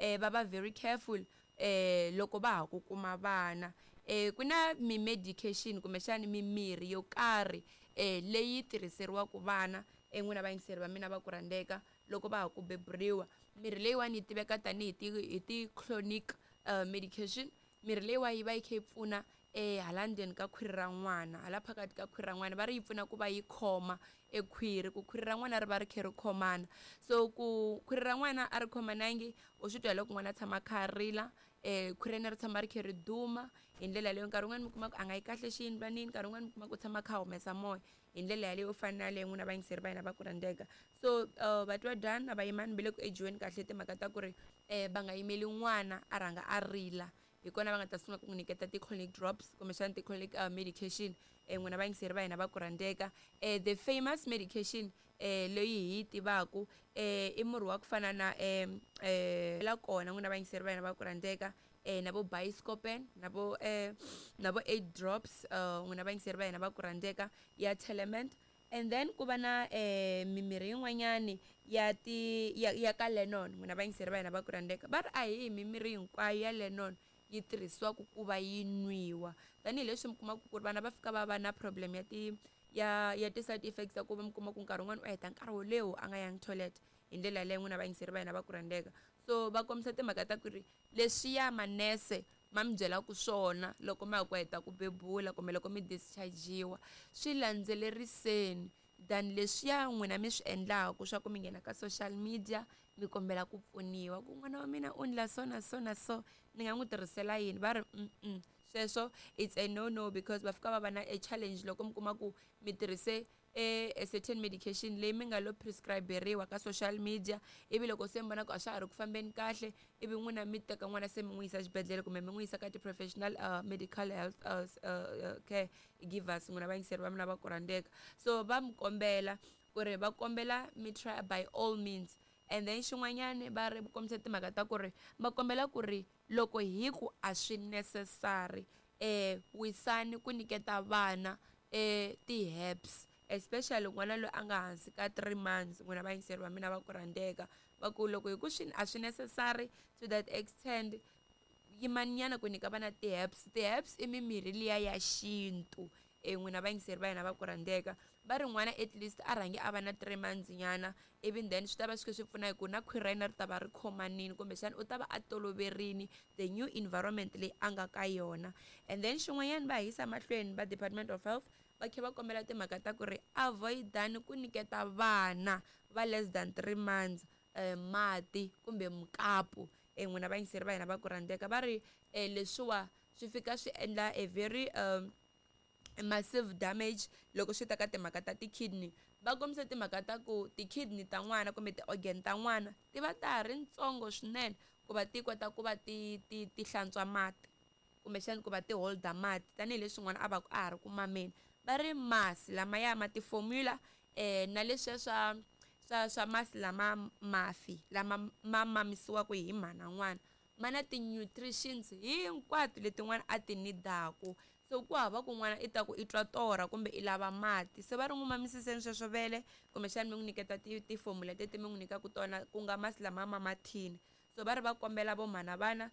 Va va very careful loko va ha ku kuma vana. Ku na mi-medication kumbexani mimirhi yo karhi leyi tirhiseriwaka vana, n'wina vayingiseri va mina va ku rhandzeka, loko va ha ku beburiwa. Mirhi leyiwani yi tiveka tanihi ti hi ti-chronic medication. Mirhi leyiwa yi va yi kha yi pfuna hala ndzeni ka khwiri ra n'wana, hala phakathi ka khwiri ra n'wana. Va ri yi pfuna ku va yi khoma e khwiri, ku khwiri ra n'wana ri va ri kha ri khomana. So ku khwiri ra n'wana a ri khomanangi, u swi twa hi loko n'wana a tshama a kha a rila, khwiri ra yena ri tshama ri kha ri duma hi ndlela yaleyo. Nkarhi wun'wani mi kuma ku a nga yi kahle xiyindlwanini, nkarhi wun'wani mi kuma ku u tshama a kha a humesa moya hi ndlela yaleyo yo fana na yaleyo, n'wina vayingiseri va hina va ku rhandzeka. So vatwa dyana na vayimani va le ku ejiweni kahle timhaka ta ku ri va nga yimeli n'wana a rhanga a rila, hi kona va nga ta sungula ku n'wi nyiketa ti-colic drops kumbexana ti-colic medication. N'wina vayingiseri va hina va ku rhandzeka, the famous medication leyi hi yi tivaku i murhi wa ku fana na la kona, n'wina vayingiseri va hina va ku rhandzeka, na vo Buscopan, na vo 8 drops, n'wina vayingiseri va hina va ku rhandzeka, ya Telement. And then ku va na mimirhi yin'wanyani ya ti ya ka Lennon. N'wina vayingiseri va hina va ku rhandzeka, va ri a hi mimirhi hinkwayo ya Lennon yi tirhisiwaka ku va yi nwiwa, tanihileswi mi kumaka ku ri vana va fika va va na problem ya ti ya ti-side effects ta ku va mi kuma ku nkarhi wun'wani u heta nkarhi wo leha a nga yangi toilet hi ndlela yaleyo, n'wina vayingiseri va hina va ku rhandzeka. So va kombisa timhaka ta ku ri leswiya manese ma mi byelaka swona loko ma ha ku heta ku bebula kumbe loko mi discharge-iwa, swi landzeleriseni than leswiya n'wina mi swi endlaku swa ku mi nghena ka social media mi kombela ku pfuniwa ku n'wana wa mina u ndla so na so na so, ni nga n'wi tirhisela yini. Va ri sweswo it's a no no, because va fika va va na a challenge loko mi kuma ku mi tirhise a certain medication leyi mi nga lo prescriberiwa ka social media, ivi loko se mi vona ku a swa ha ri ku fambeni kahle, ivi n'wina mi teka n'wana se mi n'wi yisa xibedhlele kumbe mi n'wi yisa ka ti-professional medical health care givers, n'wina vayingiseri va mina va ku rhandzeka. So va mi kombela ku ri va kombela mi try by all means. And then xin'wanyani va ri kombisa timhaka ta ku ri va kombela ku ri loko hi ku a swi necessary, wisani ku nyiketa vana ti-herbs, especially n'wana loyi a nga hansi ka 3 months. N'wina vayingiseri va mina va ku rhandzeka, va ku loko hi ku swi a swi necessary to that extent, yimaninyana ku nyika vana ti-herbs. Ti-herbs i mimirhi liya ya xintu. N'wina vayingiseri va hina va ku rhandzeka, va ri n'wana at least a rhangi a va na 3 months nyana, ivi then swi ta va swi kha swi pfuna hi ku na khwiri ra yena ri ta va ri khomanini, kumbexana u ta va a toloverini the new environment leyi a nga ka yona. And then xin'wanyana va yisa mahlweni va Department of Health, va kha va kombela timhaka ta ku ri avoidani ku nyiketa vana va less than 3 months mati kumbe mukapu. N'wina vayingiseri va hina va ku rhandzeka, va ri leswiwa swi fika swi endla a very massive damage loko swi ta ka timhaka ta ti-kidney. Va kombisa timhaka ta ku ti-kidney ta n'wana kumbe ti-organ ta n'wana ti va ta ha ri ntsongo swinene ku va ti kota ku va ti ti ti hlantswa mati kumbexani ku va ti holda mati, tanihileswi n'wana a va ku a ha ri ku mameni. Va ri masi lamaya ma ti-formula na leswiya swa masi lama mafi lama ma mamisiwaka hi mhana n'wana ma na ti-nutritions hinkwato leti n'wana a ti nidaku. So ku hava ku n'wana i ta ku i twa torha kumbe i lava mati. Se va ri n'wi mamisiseni sweswo vele, kumbexani mi n'wi nyiketa ti-formula leti mi n'wi nyikaka tona, ku nga masi lama ma mathini. So va ri va kombela vo mhana vana,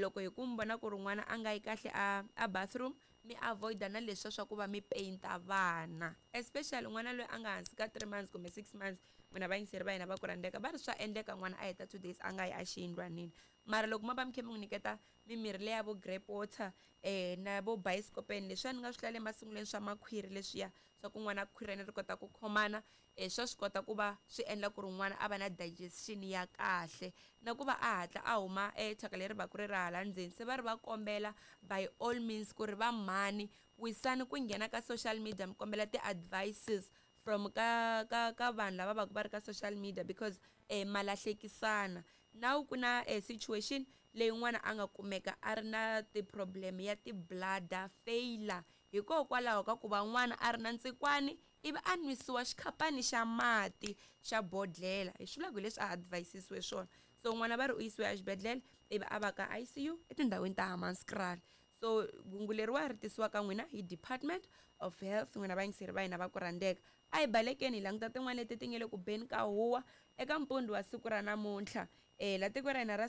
loko hi ku mi vona ku ri n'wana a nga yi kahle a bathroom, mi avoid-a na leswiya swa ku va mi paint-a vana, especially n'wana loyi a nga hansi ka 3 months kumbe 6 months. N'wina vayingiseri va hina va ku rhandzeka, va ri swa endleka n'wana a heta 2 days a nga yi a xiyindlwanini, mara loko ma va mi kha mi n'wi nyiketa mimirhi leya vo grape water na vo Buscopan, leswiya ni nga swi hlaya emasungulweni swa makhwiri, leswiya swa ku n'wana khwiri ra yena ri kota ku khomana, swa swi kota ku va swi endla ku ri n'wana a va na digestion ya kahle na ku va a hatla a huma thyaka leri va ku ri ra hala ndzeni. Se va ri va kombela by all means ku ri va mhani wisani ku nghena ka social media mi kombela ti-advices from ka vanhu lava va ku va ri ka social media, because ma lahlekisana. Now ku na situation leyi n'wana a nga kumeka a ri na ti-problem ya ti-bladder failure hikokwalaho ka ku va n'wana a ri na ntsikwani, ivi a nwisiwa xikhapani xa mati xa bodlela, hi swi vulaka hi leswi a advisisiwe swona. So n'wana va ri u yisiwe exibedhlele, ivi a va ka ICU etindhawini ta Hammanskraal. So hungu leriwa ri tisiwa ka n'wina hi Department of Health, n'wina vayingiseri va hina va ku rhandzeka. A hi balekeni hi languta tin'wana leti ti nga le ku beni ka huwa eka mpundzu wa siku ra namuntlha la tiko ra hina ra.